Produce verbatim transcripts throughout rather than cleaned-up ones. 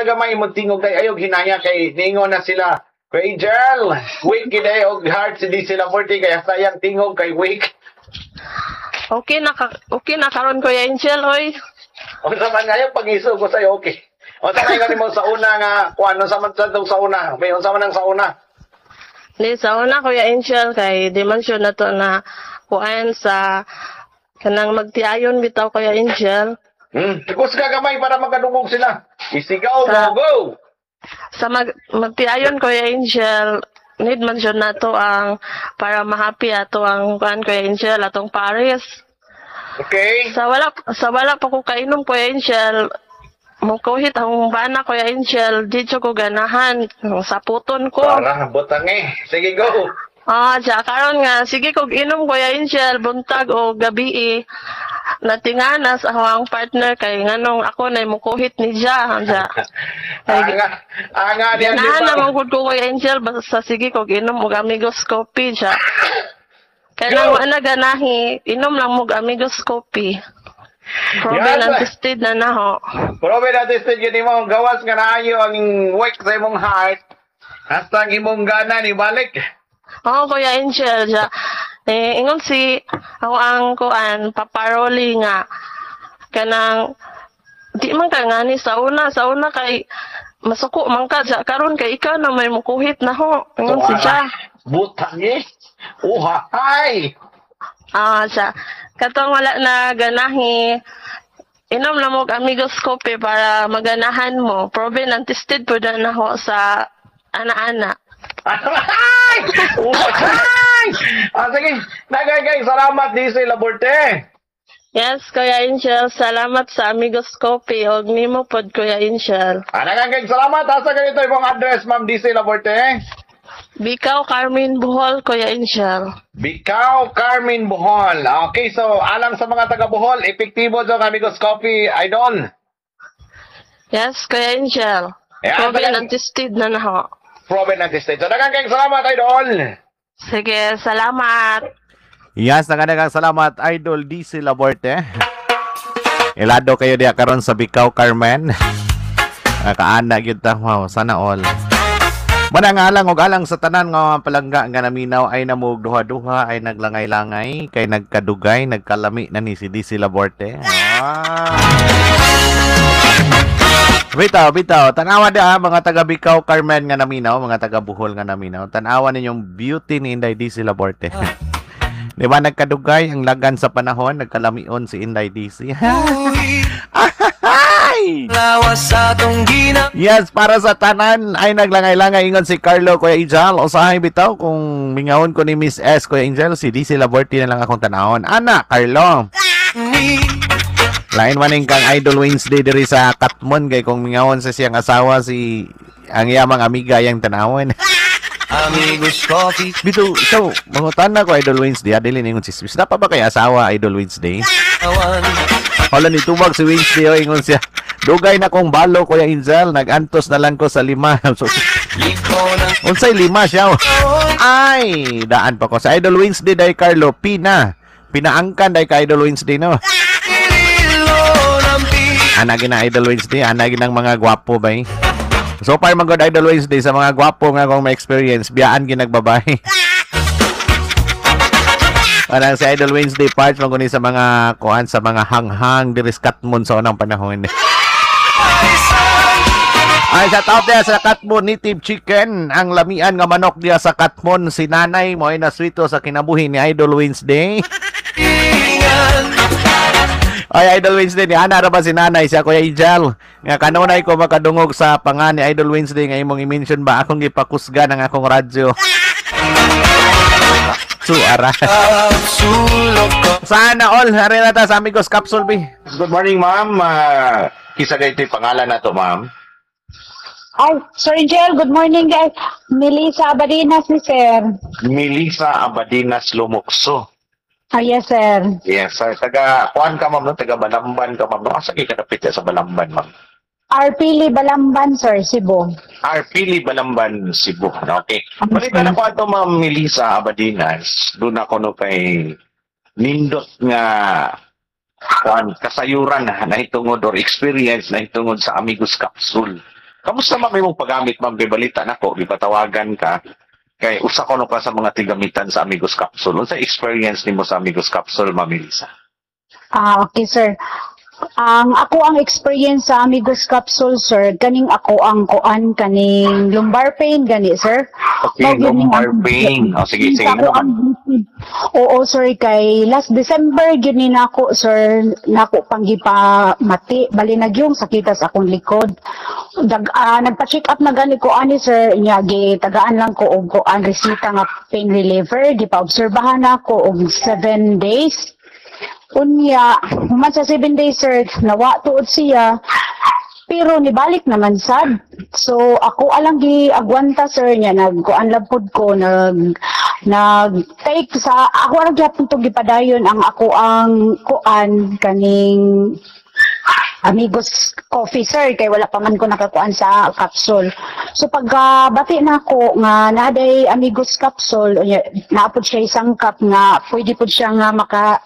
Gamay mo tingog kay ayog hinaya kay ningon na sila. Kuya Angel, weak gid eh og heart si D C Laborte kaya sayang tingog kay weak. Okay na ka, okay na karon, Kuya Angel, oy. Unsa man ngayon pag-iso ko sa'yo, okay. Unsa man ingon mo sa una nga kuan, unsa man sa sa una? May unsa man ang sa una? Di sa una, Kuya Angel, kay di man siya na to na kuan sa kanang magtiayon bitaw, Kuya Angel. Hmm, kusga gamay para makadungog sila. Isigaw Sa- mo, go. Sa mag magtiayon, Kuya Angel, need man siya nato ang para ma-happy ato ang kuan, Kuya Angel, atong pares. Okay. Sa wala sa wala pa ko kainom, Kuya Angel, mukuhit ang bana, Kuya Angel, di jud ko ganahan saputon ko. Para butang eh. Sige, go. Ah, siya karon nga sige kog inom, Kuya Angel, buntag o gabi eh. Natingana sa akong partner kay nganong ako na mukuhit ni siya. Siya. Anga, anga diyan di Ganahan ba? naman gud ko, Kuya Angel, basta sige kog inom og Amigos Coffee siya. Kay Go! nang wa na ganahi, inom lang mo og Amigos Coffee. Proven Yan. and tested na naho. Proven and tested yun mo, gawas nga naayo ang weak sa imong heart. Hasta ang imong gana ni balik. Oo, Kuya Angel, siya. Eh, ingon si ako ang kuan, paparoli nga kanang di man ka ngani sa una, sa una kay masuko man ka siya karon kay ikaw na may mukuhit na ho. Ingon si siya. Butang eh. Uha, ay. Ah, siya. Katong wala na ganahi, inom na mo og Amigos Coffee para maganahan mo. Proven and tested po na ho sa ana-ana. Ay! Uha, ay! Ah, sige. Nagay kay salamat, D C Laborte. Yes, Kuya Angel, salamat sa Amigos Coffee og nimo pod, Kuya Angel. Ah, nagay salamat. Asa ganito imong address, Ma'am D C Laborte? Bikaw, Carmen, Bohol, Kuya Angel. Bikaw, Carmen, Bohol. Okay, so alang sa mga taga Bohol, epektibo sa Amigos Coffee, Idol. Yes, Kuya Angel. Ayan, Proven dagan- and tested na na ho. Proven and tested. So daghang kayong salamat, Idol. Sige, salamat. Yes, nagadagang salamat, Idol D C Laborte. Ilado kayo diya karon sa Bikaw, Carmen. Nakaana gyud ta. Wow, sana all. Manang alang og alang sa tanan nga mga palangga nga naminaw ay namog duha-duha ay naglangay-langay kay nagkadugay nagkalami na ni si D C Laborte. Ah. Bitaw, bitaw. Tanawa da mga taga Bikaw, Carmen nga naminaw, mga taga Bohol nga naminaw. Tanawa ninyong beauty ni Inday D C Laborte. Di ba nagkadugay ang lagan sa panahon, nagkalamion si Inday D C. Ay! Lawas sa atong gina Yes, para sa tanan ay naglangay-langay ingon si Carlo, Kuya Angel. Usahay bitaw kung mingawon ko ni Miss S, Kuya Angel, si D C Laborte na lang akong tanawon. Ana, Carlo. Ni Lain maning kang Idol Wednesday diri sa Katmon kay kung mingawon sa siyang asawa si ang iyamang amiga yang tanawon. Amigos Coffee. Bito, so, mangutan na ko, Idol Wednesday, ah, dili ningon si Swiss. Napa ba kay asawa, Idol Wednesday? Awan. Hala ni tubag si Wednesday, oh, ingon siya. Dugay na kong balo, Kuya Angel, nagantos na lang ko sa lima. So, Liko ng unsay lima siya? Oh? Ay, daan pa ko. Sa Idol Wednesday day Carlo, pina. Pinaangkan day ka Idol Wednesday, no? Pililo ng pi Ana gina Idol Wednesday, ana ginang mga gwapo bay. So far man gud, Idol Wednesday, sa mga gwapo nga akong ma-experience, biyaan ginagbabay. Parang si Idol Wednesday parts man guni sa mga kuan sa mga hanghang diri sa Katmon sa unang panahon. Ay, shout out diya sa Katmon Native Chicken, ang lamian nga manok diya sa Katmon, si nanay mo ay naswito sa kinabuhi ni Idol Wednesday. Ay, Idol Wednesday, ni ana ra ba si nanay siya, Kuya Ijal? Nga kanunay ko makadungog sa pangan ni Idol Wednesday nga imong i-mention ba akong gipakusgan ang akong radyo. Su ara. Sulok ko Sana all, ari na ta sa Amigos Capsule B. Good morning, ma'am. Uh, kisa ito yung pangalan na to, ma'am. Ay, Sir Angel, good morning, guys. Melissa Abadinas ni sir. Melissa Abadinas Lumukso. Ah, yes, sir. Yes, sir. Taga, kuan ka, ma'am, no? Taga Balamban ka, ma'am. No? Asa kay kadapit sa Balamban, ma'am? Arpili Balamban, sir, Cebu. Arpili Balamban, Cebu. Okay. Balikan ako ato, ma'am Melissa Abadinas. Doon ako no kay nindot nga kuan kasayuran na nahitungod or experience na hitungod sa Amigos Capsule. Kamusta, ma'am, imong paggamit, ma'am? Kay balita nako, gipatawagan ka kay usa ko no ka sa mga tigamitan sa Amigos Capsule. Unsa experience nimo sa Amigos Capsule, Ma'am Melissa? Ah, okay, sir. Ang ako ang experience sa Amigos Capsule, sir, kaning ako ang kuan, kaning lumbar pain gani, sir. Okay, Mao gyud ning lumbar ang- pain. O sige, sige. Ako Ano man? ang Oo, sir, kay last December gyud ni nako, sir, nako pang gipamati, bali nagyong sakita sa akong likod. Dag, ah, nagpa-check up na gani ko ani, sir, nya gitagaan lang ko og kuan, resita nga pain reliever, gipa-obserbahan nako og seven days. Unya, human sa seven days, sir, nawa tuod siya. Pero nibalik naman sad. So ako alang gi agwanta, sir, niya nagkuan lang pud ko, nag nag take sa ako ang gyapon to, gipadayon ang ako ang kuan, kaning Amigos Coffee, sir, kay wala pa man ko nakakuan sa capsule. So pagka bati na ako nga naday Amigos Capsule, unya, naapod siya isang cup nga pwede pud siya nga maka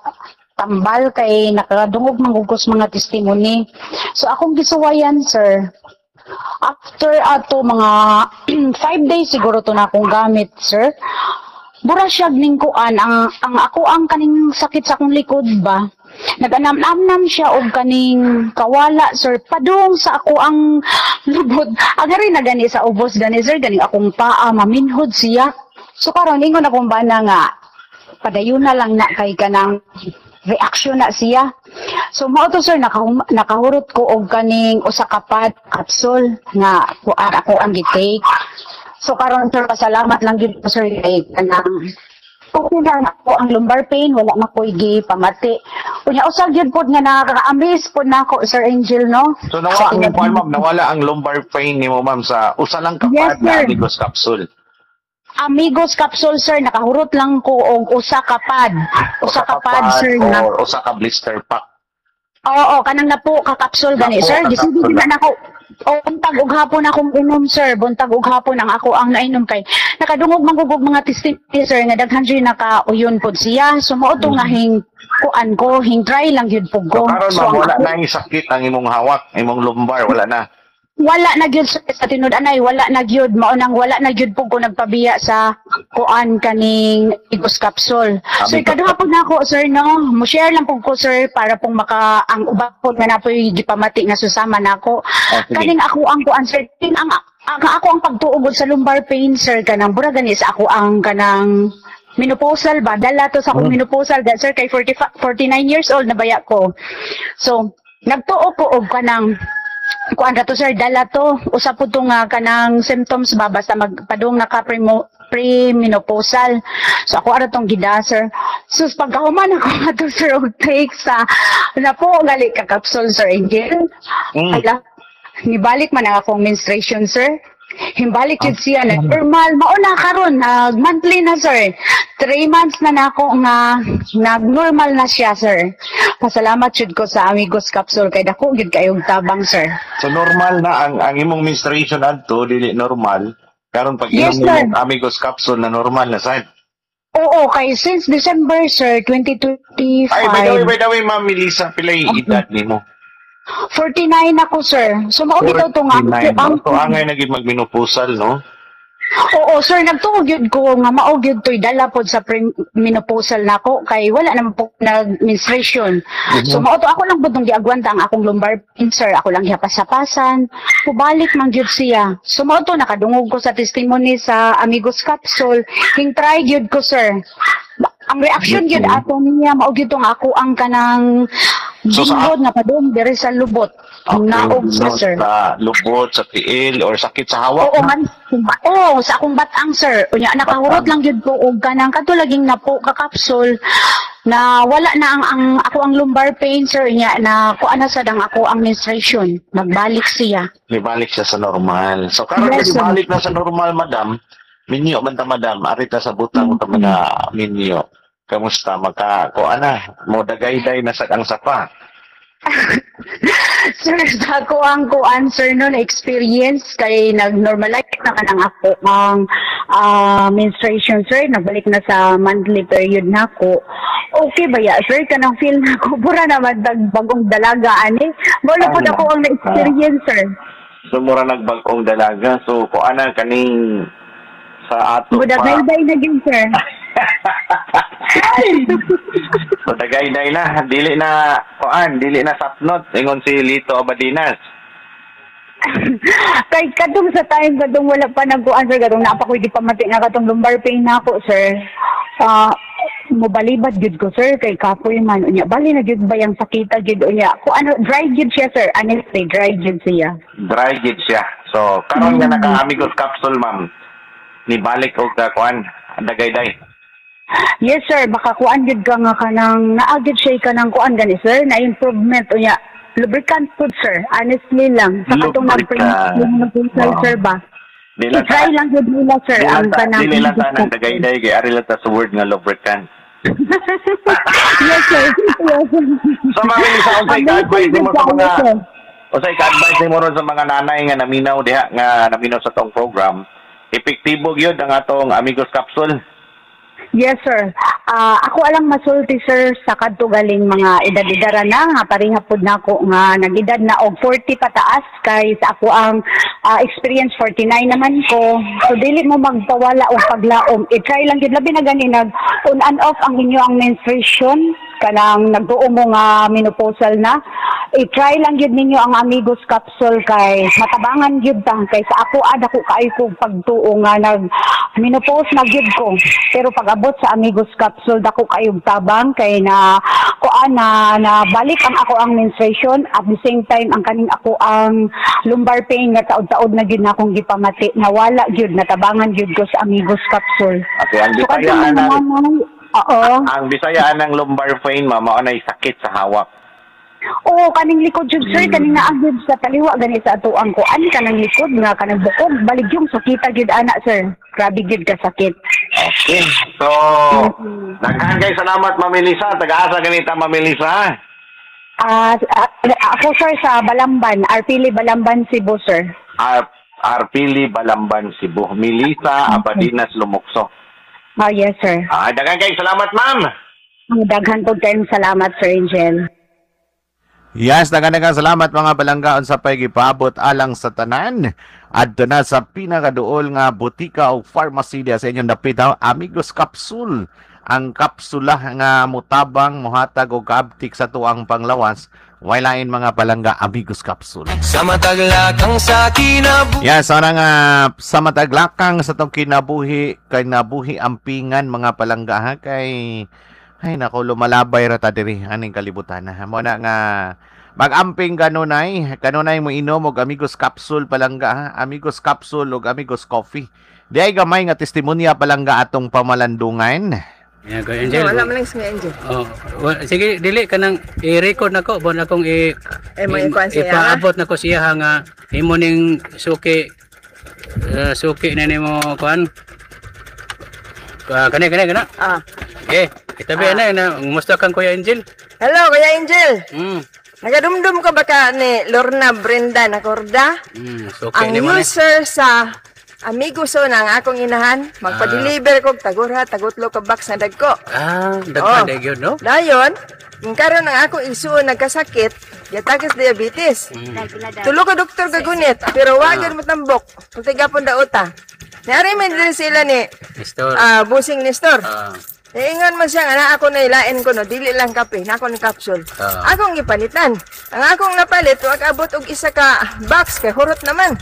tambal kay nakadungog manggugos mga testimony. So akong gisuwayan, sir. After ato mga five days siguro to na akong gamit, sir. Bura siya ning kuan, ang ang ako ang kaning sakit sa akong likod ba. Naganam-namnam siya og kaning kawala, sir, padung sa ako ang lubot. Ang rin na gani sa ubos gani, sir, ganing akong paa maminhod siya. So karon ingon akong bana nga padayon na lang na kay kanang reaction na siya. So mao to, sir, nakahum- nakahurot ko og kaning usa ka pad capsule nga kuan ako ang gi-take. So karon, sir, pasalamat lang gyud ko, sir, kay kanang okay na ako ang lumbar pain, wala na ko'y gipamati. Unya usa gyud pod nga nakaka-amaze pod nako, Sir Angel, no? So nawala ang kuan, ma'am, nawala ang lumbar pain nimo, ma'am, sa usa lang ka Yes, pad na sir. Amigos Capsule. Amigos Capsule, sir, nakahurot lang ko og usa ka pad. Usa ka pad, sir, na or usa ka blister pack. Oo, kanang napo ka capsule gani, Napo sir. ka Gisigi capsule. na nako. O buntag ug hapon akong inom, sir. Buntag ug hapon ang ako ang nainom kay nakadungog manggugog mga testimony, sir, nga daghan jud nakauyon pod siya. So mao to nga hing kuan ko, hing try lang gyud pud So ko. karon, So, ma'am, ang wala ako- na yung sakit ang imong hawak, imong lumbar, wala na. Wala na gyud, sir, sa tinud anay, wala na gyud. Mao nang wala na gyud pud ko nagpabiya sa kuan, kaning Amigos Capsule. So Amigos. ikaduha pud nako, sir, no. Mo share lang pud ko, sir, para pong maka ang uban pud nga napoy gipamati nga susama nako. Oh, sige. Kaning ako ang kuan, sir, king ang, ang ako ang pagtuog sa lumbar pain, sir, kanang bura gani sa ako ang kanang menopausal ba, dala to sa akong Hmm. menopausal da, sir, kay forty-five, forty-nine years old na baya ko. So nagtuo ko og kanang kuan ra to, sir, dala to usa pud to nga kanang symptoms ba basta magpadung naka premo premenopausal. So ako ara tong gida, sir. Sus, pagkahuman ako ato, sir, og take sa napo gali ka capsule, Sir Angel, Mm. ala, nibalik man ang akong menstruation, sir. Himbalik yun siya na normal. Mao na karon nag monthly na, sir. Three months na nako nga nag-normal na siya, sir. Pasalamat jud ko sa Amigos Capsule kay dako gyud kayong tabang, sir. So normal na ang ang imong menstruation adto dili normal. Karon pag Yes, inom sir. imong Amigos Capsule na normal na sad. Oo, kay since December, sir, twenty twenty-five. Ay, by the way, by the way, Ma'am Melissa, pilay edad nimo? forty-nine ako, sir. So mao bitaw to nga forty-nine. ang So angay na gid magmenopausal, no? Oo, sir, nagtuo gyud ko nga mao gyud to'y dala pod sa menopausal nako kay wala naman po nag-menstruation. So mao to ako lang pud tong giagwanta ang akong lumbar pain, sir. Ako lang gihapas-hapasan. Kubalik man gyud siya. So mao to nakadungog ko sa testimony sa Amigos Capsule. Hing try gyud ko, sir. Ba- Ang reaction gyud ato niya mao gyud tong ako ang kanang So, sa- binhod nga padung diri sa lubot. Naog siya, So, sir. sa lubot, sa tiil, or sakit sa hawak. Oo, man. Oo, sa akong batang, sir. Unya, nakahurot Batang. lang gyud ko og kanang kadto laging napo ka capsule na wala na ang, ang ako ang lumbar pain, sir, nya na kuan na sad ang ako ang menstruation. Nagbalik siya. Nibalik siya sa normal. So karon Yes, sir. nibalik na sa normal, madam. Minyo man ta, madam, arita sa butang ta mga minyo. Kamusta maka ko ana mo dagayday na sa ang sapa? Sir, sa ako ang kuan, sir, no, na experience kay nag-normalize na kanang ako ang ah, menstruation, sir, nagbalik na sa monthly period na ako. Okay ba ya, sir, kanang feel na ako bura naman tag bagong dalaga ani. Mo na pud Ay, ako ang na-experience, sir. So mura nagbag-ong dalaga. So kung ana kaning sa ato pa. Mudagayday na gyud, sir. So dagayday na, dili na kuan, dili na sapnot ingon si Lito Abadinas. Kay kadtong sa time kadtong wala pa nagkuan, sir, katong naa pa ko'y gipamati nga katong lumbar pain nako, sir. Ah, mobalibad gyud ko, sir, kay kapoy man unya. Bali na gyud ba yung sakita gyud unya. Ko ano, dry gyud siya, sir. Honestly, dry gyud siya. Dry gid siya. So karon nga naka Amigos capsule, ma'am. Ni balik og ka kuan, dagayday. Yes, sir, baka kuan gyud ka nga kanang naa gyud siya kanang kuan gani, sir, na improvement unya. Lubricant food, sir. Honestly lang. Sa katong Lubricant. nag-print Wow. sir ba? Di lang I-try lang gyud nila, sir, Di lang ang ta, kanang dili lang ta ng dagayday kay ari lang ta sa word nga lubricant. Yes, sir. Yes. So ma'am Melissa, unsay ka-advise nimo sa mga Sir. unsay ka-advise nimo ron sa mga nanay nga naminaw diha nga naminaw sa tong program? Epektibo gyud ang atong Amigos capsule. Yes, sir. Ah, ako alang masulti, sir, sa kadto galing mga edad-edara na nga pareha pud nako nga nag-edad na og forty pataas kay sa ako ang ah, experience forty-nine naman ko. So dili mo magpawala og paglaom. I-try lang gyud, labi na gani nag on and off ang inyo ang menstruation, kanang nagtuo mo nga menopausal na. I-try lang gyud ninyo ang Amigos capsule kay matabangan gyud ta, kay sa ako ada ko kaayo ko pagtuo nga nag menopause na gyud ko, pero pag abot sa Amigos capsule, dako kayong tabang kay na kuan na na balik ang ako ang menstruation, at the same time ang kaning ako ang lumbar pain nga taod-taod na gyud na akong gipamati, nawala gyud, natabangan gyud ko sa Amigos capsule. Okay, ang So Bisaya kadtong mga anang nanay, oo. Ang Bisaya anang lumbar pain, ma'am, mao nay sakit sa hawak. Oo, kaning likod jud, sir, Mm. kaning naa gyud sa taliwa gani sa atuang ko. Ani kanang likod nga kanang bukog, balig yung sakita gyud ana, sir. Grabe gyud ka sakit. Okay. So, daghan kay salamat, Ma'am Melissa. Taga-asa ganita, Ma'am Melissa? Ah, ah, ako, sir, sa Balamban, Arpili, Balamban, Cebu, sir. Ar Arpili Balamban, Cebu. Melissa Abadinas Lumukso. Ah, yes, sir. Ah, daghan kay salamat, ma'am. Daghan po kayong salamat, Sir Angel. Yes, daghan salamat, mga palangga, unsa pay gipaabot alang sa tanan. Adto na sa pinakaduol nga botika o pharmacy diya sa inyong dapit ha, Amigos Capsule. Ang kapsula nga mutabang, muhatag og kaabtik sa tuang panglawas. Way lain, mga palangga, Amigos Capsule. Sa mataglakang sa kinabuhi. Yes, sana nga sa mataglakang sa tong kinabuhi, kay nabuhi ampingan, mga palangga, ha, kay ay nako, lumalabay ra ta diri aning kalibutan. Ha. Mo na nga mag-amping kanunay, kanunay mo inom og Amigos Capsule, palangga, ha. Amigos Capsule ug Amigos Coffee. Di ay gamay nga testimonya, palangga, atong pamalandungan. Yeah, Kuya Angel. Wala man lang si Angel. Oh, wa- sige, dili ka nang i-record nako, bon akong i Eh, mo ikuan siya, ipaabot nako siya ha, nga imo ning suki eh, suki na nimo kuan. Ah, kani kani kana. Ah. Okay, itabi na na kumusta kang Kuya Angel? Hello, Kuya Angel. Mm. Nagadumdum ka ba ka ni Lorna Brenda Nacorda? Mm, suki Ang nimo ni. user sa Amigo na ang akong inahan. Magpa-deliver kog tagurha, tagutlo ka box na dagko. Ah, daghan Oh. oh. gyud, no? Dayon, kung karon ang akong igsuon nagkasakit, giatake sa diabetes. Tulo ka doktor kagunit, pero wa gyud motambok. Pagtigapon dauta. Niari man din sila ni Nestor. ah Busing Nestor. Ah, Ingon man siya nga na ako na ilain ko no, dili lang kape, na ako ng capsule. Ah. Akong gipalitan. Ang akong napalit, wag abot og isa ka box kay hurot naman.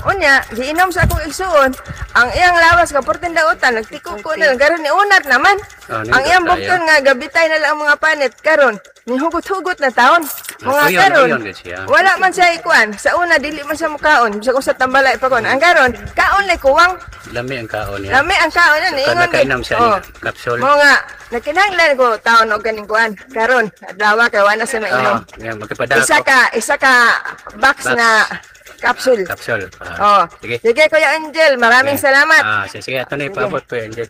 Unya, giinom sa akong igsuon, ang iyang lawas ka portin dautan, nagtikuko na lang karon ni unat naman. Ah, Ang iyang nindot tayo. bukton nga gabitay na lang ang mga panit karon, nihugot-hugot na taon. Mga Uyon, karon, uyon gid siya. wala man siya ikuan. Sa una dili man siya mukaon, bisag usa tambalay pa kon. Ang karon, kaon lay kuwang. Lami ang kaon niya. Lami ang kaon na So, niingon. nakainom siya Oh. ni capsule. Mo nga, nakinahanglan ko taon og ganing kuan. Karon, adlaw kay wala sa mainom. Ah, yeah, magpapadako. Isa ka, isa ka box, Box. na capsule. Capsule. Ah, Oh. Sige. Sige, Kuya Angel, maraming Yeah. salamat. Ah, sige, sige, ato na ipaabot, Kuya Angel.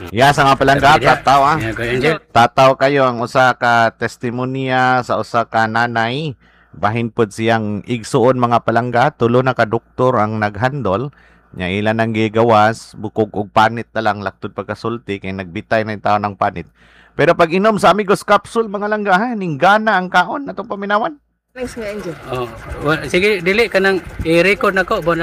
Yes, ang mga palangga, Sabi niya. tataw ah. Yeah, Kuya Angel. Tataw kayo ang usa ka testimonya sa usa ka nanay, bahin pod siyang igsuon, mga palangga, tulo na ka doktor ang naghandol nya, ilan ang gigawas bukog og panit na lang laktod pagkasulti kay nagbitay na yung tao ng panit, pero pag inom sa Amigos Capsule, mga langga, ha, ninggana ang kaon atong paminawan. Thanks nga, Angel. Oh, wa- sige, dili kanang i-record nako, bon.